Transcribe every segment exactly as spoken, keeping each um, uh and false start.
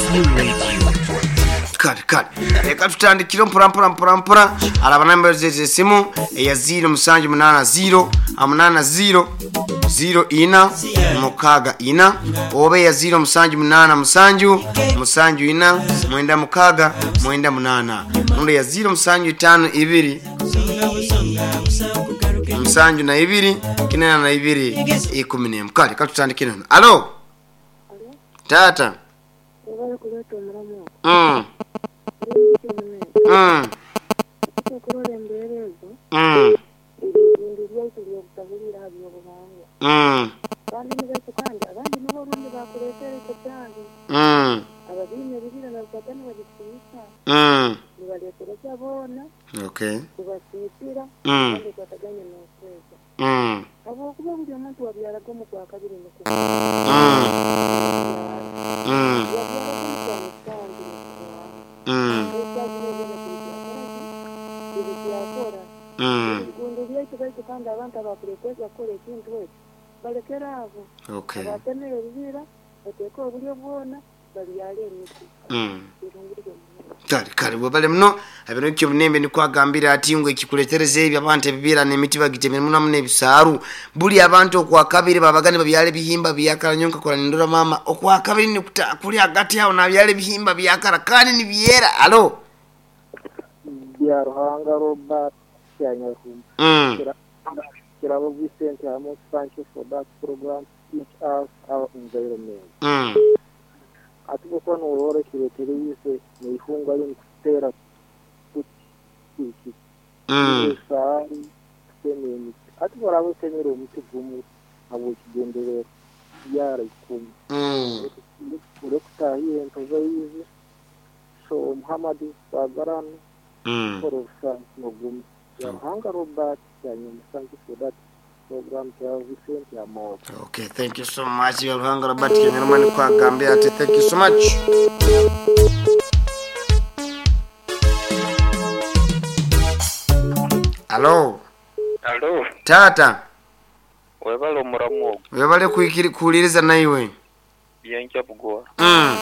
Q Radio. Kale kale reka tutandikire mpora mpora mpora mpora. Araba namba z'esimu eya ziro musanju munana ziro amunana ziro ziro ina mukaga ina, oba eya ziro musanju munana musanju musanju ina mwenda mukaga mwenda munana, nundo ya ziro musanju itano ibiri musanju na ibiri kinana na ibiri ikumi n'emu. Kale katutandikire hano. Alo tata. Webale kuleeta omulamu ogwo. Mm. Mm. Okurora embeera ezo, Mm. ebintu byaitu byobutahurira aha by'obuhangwa. Mm. Kandi nibaitu kandi abandi nibo orundi bakuleetera ekyo kyange. Mm. Ababiine ebibira nabifata nibabisiisa, Mm. nibaleetereza boona, Okay. kubasiisira, Mm. kandi kwataganye n'okweza. Mm. Habwokuba buli omuntu wabyaraga omu kwa kabiri nikuba. Mm. Mm. Wabyaraga omu kwa musanju nikubaho. Mm. Ebibyakora Mm. ebigundu byaitu baitu kandi abantu abakuleeteza kukora ekintu ekyo balekere abo. Okay. Abatemere ebibira bateeke obulyo bwona babyale emiti. Mm. Birungi muno. Kale kale webale muno. Abino kyo bunembe nikwagambira ati ngo ekikuletereza ebyo abantu ebibira n'emiti bagitemere muno muno ebisaaru. Buli abantu okwa kabiri babagane babyale ebihimba byakala nyonka kola nindora mama okwa kabiri nikuta kuli hagati aho nabyale ebihimba byakala kandi nibyera. Alo Bya Ruhanga Robert Kyanyarumba. Mm. Kirabo Vincent Amos, thank you for that program. Teach us our environment. Mm. Ati kuko nurore kiretire yise nihunga limkutera kuti Mm. Sari kutema emiti. Ati baraba utemera omuti gumu habw'ekigendererwa yara ikumi. Mm. Urekutahiye entozo yize. So Muhammad Bagarano Mm. for nogumu. Ruhanga Robert Kyanyarumba, thank you for that program. Kirabo Vincent Amos. Okay, thank you so much. Bya Ruhanga Robert Kyanyarumba nikwagambira ati thank you so much. Alo Alo, tata. webale omuramu ogwo. Webale kuikiri kuwuliriza naiwe. Byenkya bugora. Mm.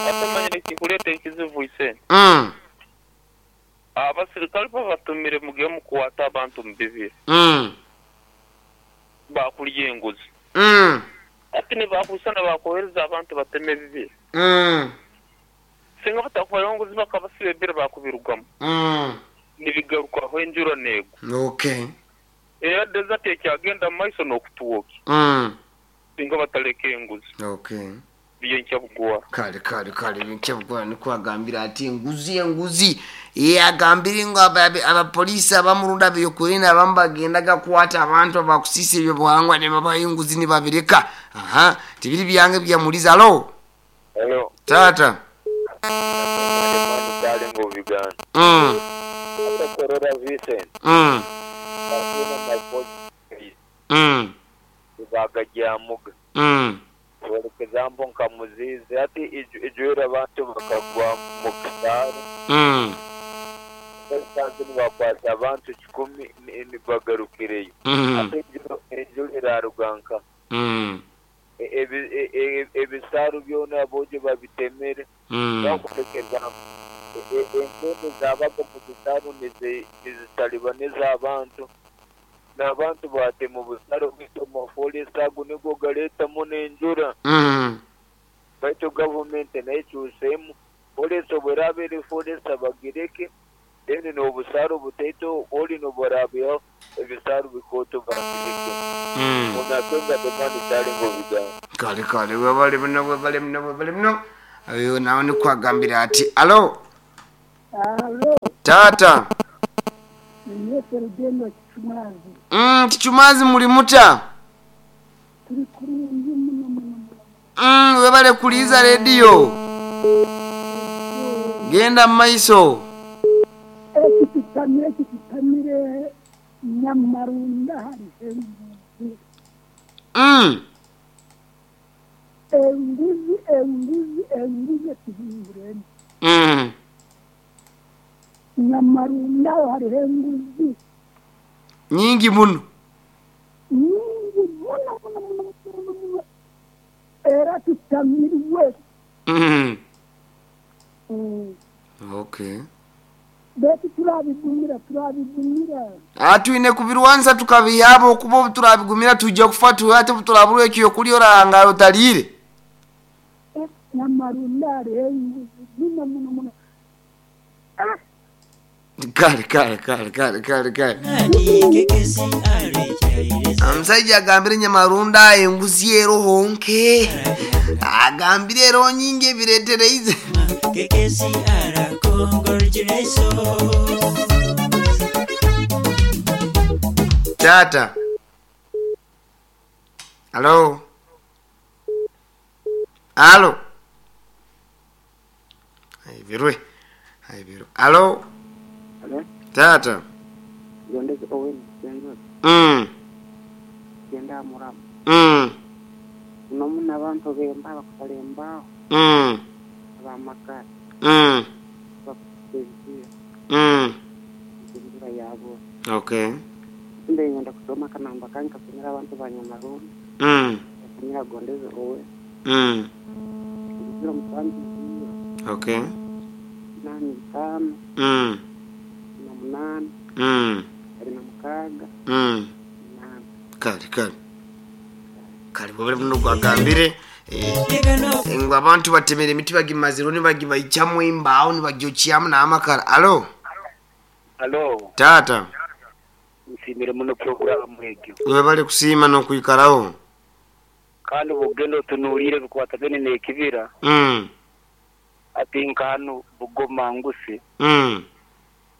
Ate manyire kikuleeta ekizibu ise. Mm. Abasirikale babatumire mugiye mukukwata abantu mu bibiri. Mm. Bakulya enguzi. Mm. Ate nibakusana bakohereza abantu bateme ebibiri. Mm. Singa batakubayo enguzi bakabasiba ebibiri bakubirugamu. Mm. Nibigarukaho enjura neego. Okay. Era desert ekyagenda mu maiso n'okutuwoki. Mm. Singa bataleka enguzi. Okay. Byenkya bugora. Kale kale kale byenkya bugora nikwagambira ati enguzi enguzi yagambire ngo abapoliisi abamurunda byokurina abamu bagendaga kukwata abantu abakusisa ebyo buhangwa ne babaha enguzi nibabireka. Aha, tibiri byange byamuliza. Alo Hello. tata. Mm. Mm. Mm. Mm. Example nka muzizi ati ijwera abantu bakagwa mu kisaaru. Mm. Basanze nibakwata abantu kikumi nibagarukireyo. Mm. Ate enjura eraruganka. Mm. Ebisaaru byona abojo babitemere. Mm. Bakutekeza entende zabaga mu kisaaru nizitalibaniza abantu. N'abantu batema obusaro bwitoma forest ago nigo galeetamu n'enjura. Mm. Baitu gavumenti nayo ekyuseemu forest obweraaba eri forest abagireke then n'obusaro butaito oli noburaabeho ebisaro bikooto bagireke. Mm. Onakenga demani kyalinga obigambo. Kale kale webale muno webale muno webale muno. Ayo nawe nikwagambira ati alo. Alo. Tata. Niye Rugendo Kichumazi. Mm, Kichumazi muli muta? Turi kurungi muno muno muno. Mm, webale kuliza radio. Genda maiso. Ekitutamire ekitutamire Nyamarunda hari enguzi. Mm. Enguzi enguzi enguzi ekihingureni. Mm. Nyamarunda hari enguzi nyingi muno. Nyingi muno muno muno muno. Era tutamirwe. Mm. Mm. Okay. Baitu turabigumira turabigumira Atwine kubirwanza tukabihaba okuba turabigumira tujja kufa tuhate turaburwa ekyo kulya orahangara otalire. Eh, namarunda hariho enguzi muno muno muno. Ah, Kale kale kale kale kale kale. Omusajja agambire nyamarunda enguzi eroho nke. Agambire ero nyingi ebireetereize. Tata. Halo. Halo. Aivirwe. Aivirwe. Halo. Halo, Tata. gondezi Owen Jengo, Mm. genda muramu. Mm. Uno muna abantu bemba bakutala embaaho Mm. abamakara Mm. bakuteziya Mm. enjura yabo. Okay. Mbe ngenda kusoma kanamba kange kakumira abantu ba Nyamarunda, Mm. kakumira gondezi Owen. Mm. Ziro musanju ziro, Okay. nani bitano, Mm. na munani, Mm. abiri na mukaaga, Mm. munani. Kale kale. Kale bwebale muno gwagambire. Eh, ngo abantu batemera emiti bagimaziro nibagibaikyamu embaawo nibagyokyamu n'amakara. Alo. Alo, Tata. nsimire muno programu egyo. Webale kusiima n'okwikaraho. Kandi bugenda otunuulire bikwatagane n'ekibira Mm. ati nk'hanu Bugoma ngusi Mm.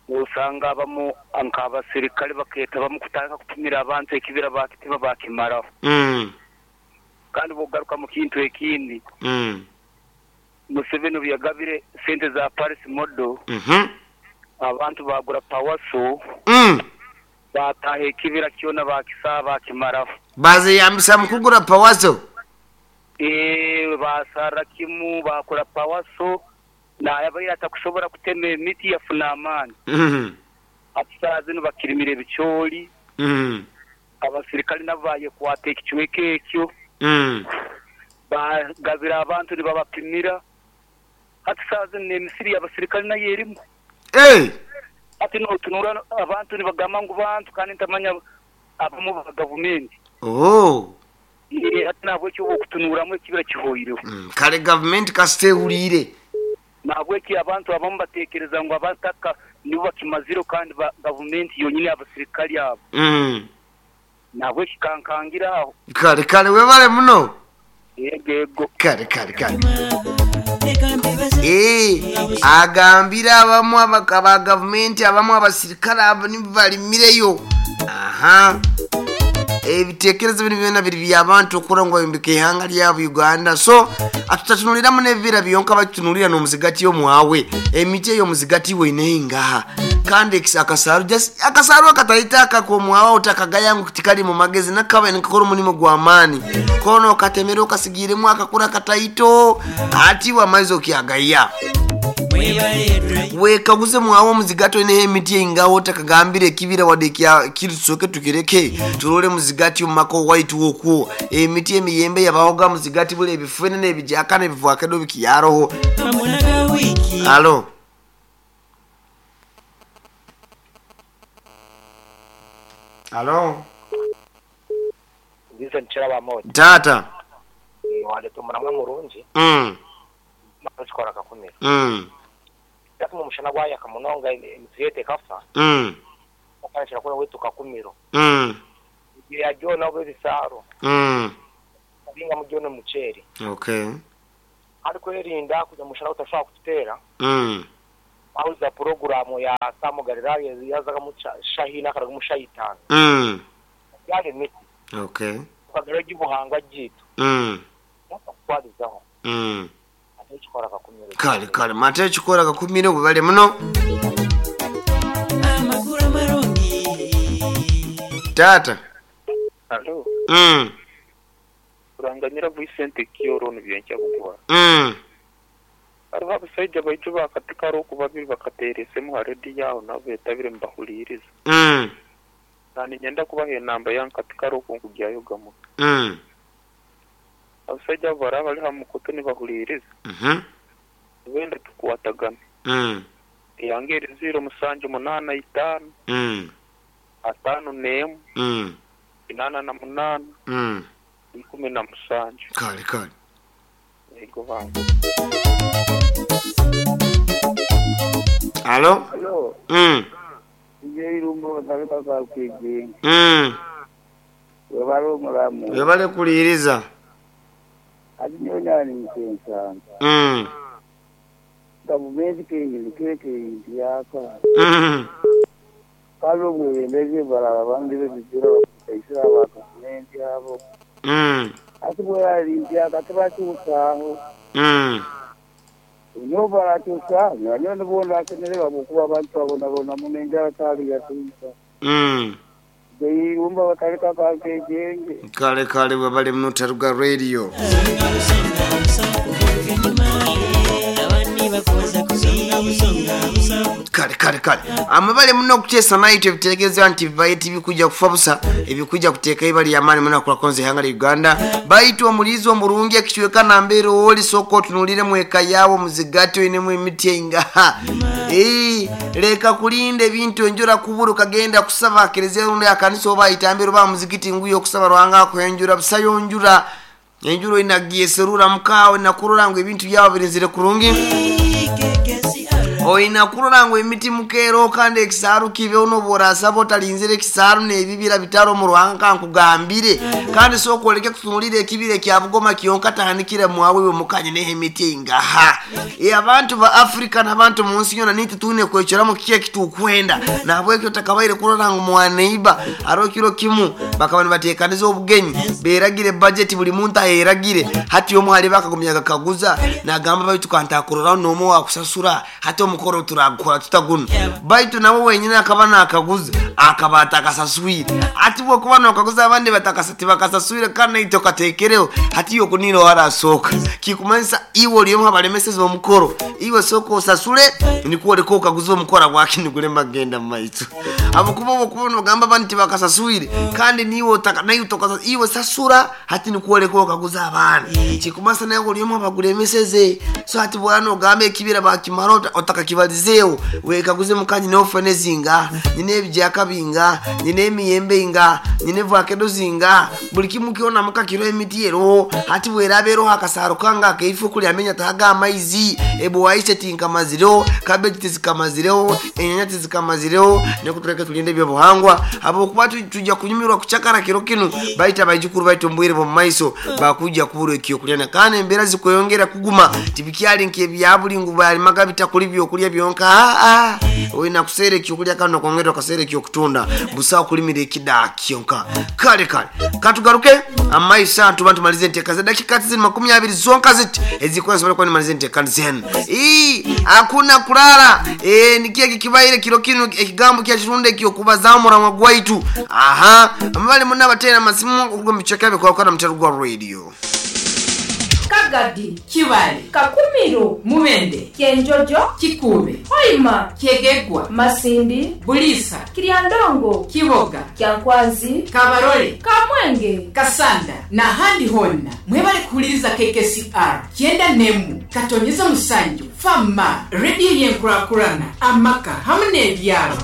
nosanga abamu nk'abasirikale bakeeta bamu kutandika kupimira abantu ekibira bakitema bakimaraho. Mm. Kandi bwogaruka mu kintu ekindi Mm. Museveni obu yagabire sente za Paris Model Mhm. abantu bagura pawaso Mm. bataha ekibira kyona bakisaa bakimaraho. Bazeyambisa mu kugura pawaso. Eh, basarra kimu bakora pawaso nayabaire atakusobora kutema emiti yafuna amaani. Mm. Ati saa zinu bakirimira ebicoori Mm. abasirikale nabo bayekwata ekicweka ekyo Mm. bagabira abantu nibabapimira. Hati saa zinu n'emisiri y'abasirikale nayo erimu. Hey. Ati notunura abantu nibagamba ngu bantu kandi ntamanya abamu ba gavumenti. Oh. Eh, hati nabwekyo okutunuramu ekibira kihoireho. Mm. Kale gavumenti kasita ehuriire. Nabweki abantu abamu batekereza ngu abataka nibo bakimaziro kandi ba gavumenti yonyine abasirikale abo. Mm. Nabweki kankangira aho. Kale kale webale muno. Yego yego. Kale kale kale. Eh, agambira abamu abaka ba gavumenti abamu abasirikale abo nibo balimireyo. Aha. Ebitekerezo bino byonna biri by'abantu okura ngu bayombeka ihanga lyabo Uganda. So atutatunuliramu n'ebibira byonka batutunulira n'omuzigati omwawe. Emiti ey'omuzigati weineho ngaha. Kandi ekisa akasaaru just akasaaru akatayita akakomwawe otakagaya ngu tikali mu magezi nakaba nikakora omulimu gw'amaani. Kono okatemera okasigiremu akakura akataito ati wamaizi okyagaya. Wekaguze mwawe omuzigati oineho emiti eingaho otakagambire ekibira wadde kya kirisoke tukireke turole muzigati omumaka owaitu okwo emiti emiyembe yabahoga muzigati bule ebifenene ebijakana ebivwakedo bikiyaroho. Alo. Alo. Nziza nchira moja. Tata. Waleta omuramwa murungi Mm. matukora kakumira. Mm. Yatuma omushana gwayaka munonga emiti yete ekafa. Mm. Okanshira kuna wetu kakumiro. Mm. Ya jona obo ebisaro. Mm. Binga mu jona muceeri. Okay. Ariko erinda kuja mushana utashobora kututera. Mm. Auza programu ya Samu Galilaya yazaga mu shahina akaraga mu shayitani. Mm. Yali miti. Okay. Ukagera gibuhangwa gitu. Mm. Kwalizaho. Mm. Ekikora kakumiro. Kale kale mate ekikora kakumiro bwe bale muno. Tata. Alo. Mm. Kuranganyira Vicente Kioro nibyenkya bugwa. Mm. Hariho abasajja baitu bakatika roku babiri bakateeresemu ha rediyo aho nabo beetabire mubahuriiriza. Mm. Nani nyenda kubaha enamba yange katika roku nkugyayo gamu. Mm. Abasajja abo baraba bali ha mukutu nibahuliriza. Mhm. Benda tukwatagane. Mm. Yange eri ziro musanju munaana itaano Mm. ataano n'emu Mm. inaana na munaana Mm. ikumi na musanju. Kale kale. Yego bange. Alo? Alo, Mm. nje irumbo batali kakakwiginga. Mm. Webale omulamu. Webale kuliriza. Ati nyonya ni mukensanga. Mm. Gavumenti kenyini keke yaka. Mm. Kale obwebembezi balala bandire bizira bakusaisira aba gavumenti abo. Mm. Ati bweyali ntyaka tebakyusaaho. Mm. Nyo barakyusa, nyo nibona akemererwa kuba abantu abonabona muno enjala taali yatuusa. Mm. Irumba batali kakakejenge. Kale kale webale muno Taruga Radio. Kale kale kale. Amabale muno okuteesa naye ebitegeeza nti bibaye tibikujja kufa busa, ebikujja kuteeka ibali y'amaanyi muno akulakonze ihanga lya Uganda. Baitu omulizi omurungi ekichweka nambeera oli sooka otunuulire mu eka yaawo muzigati oinemu emiti eingaha. Eh, leka kulinda ebintu enjura kubura kagenda kusaba kelezia rundi akanisa oba itambiro ba muzikiti nguyo okusaba Ruhanga akwenjura busayo njura. Enjuro inagieserura mukaawe nakurora ngo ebintu byawe birinzire kurungi. Oina kurora ngo emiti mukero kandi ekisaaru kibe uno borasaba otalinzire ekisaaru n'ebibira bitaro mu Ruhanga nkugambire. Kandi sooka oleke kutunulira ekibira ekya Bugoma kyonka tandikire mwawe we mukanye n'emiti ingaha. E abantu ba Afrika n'abantu mu nsi yona niti tune kwecheramu kiki ekitukwenda. Nabwekyo takabaire kurora ngo mwaneiba aro kiro kimu bakaba nibateekaniza obugenyi beragire budget buli muntu ayeragire hati omuhali bakagumya kakaguza nagamba baitu kantakurora n'omu wakusasura hati omukoro turakora tutagunu baitu nabo wenyine akaba nakaguza akaba atakasaswire ati bwokuba nokaguza abandi batakasati bakasaswire kandi naito katekereho hati yokunira warasoka kikumanyisa iwe oliyomu abalemeseza omukoro iwe soka osasule nikwo oleka okaguza omukoro gwaki magenda mu maiso abukuba obukuba nogamba abandi tibakasaswire kandi niwe otaka naye utokasa iwe sasura hati nikwo oleka okaguza abaana kikumanyisa nawe oliyomu abagulemeseze so hati bwana ogamba ekibira bakimara otakakibalizeewo wekaguze mukanyi n'ofene zinga nyina ebijaka binga nyina emiyembe inga nyina evakedo zinga buli kimu kyona mukakiro emiti eroho hati bweraba eroho akasaaro kanga akaifu kuli amenya taga amaizi ebuwaise tinkamazireho kabeji tizikamazireho enyanya tizikamazireho nekutuleke tulinde ebyobuhangwa habwokuba tujja kunyumirwa kuchakara kiro kinu baita baijukuru baitu mbwire b'omu maiso bakujja kubura ekyokulya kandi embeera zikweyongera kuguma tibikyali nk'ebyabuli ngu balimaga bitakuli byokulya byonka aa olina kuseera ekyokulya kandi nokwongera okaseera ekyokutunda busawo kulimira ekida kyonka. Kale kale katugaruke amaiso tuba tumalize enteeka za dakika zino makumi abiri zonka ziti ezikuwa kuba nimalize enteeka zenu. Ii hakuna kulala. Eh nikiye kibaire kiro kino ekigambo kya kirunde ekyokubaza omuramwa gwaitu. Aha amabale munna batera masimu okuruga mu bicheka bikwa na Mutaruga Radio. Kagadi, Kibale, Kakumiro, Mubende, Kyenjojo, Kikube, Hoima, Kyegegwa, Masindi, Bulisa, Kiryandongo, Kiboga, Kyankwanzi, Kabarole, Kamwenge, Kasanda n'ahandi honna mwebale kuwuliriza K K C R kyenda n'emu katonyeza musanju fama rediyo y'enkurakurana amaka hamwe n'ebyalo.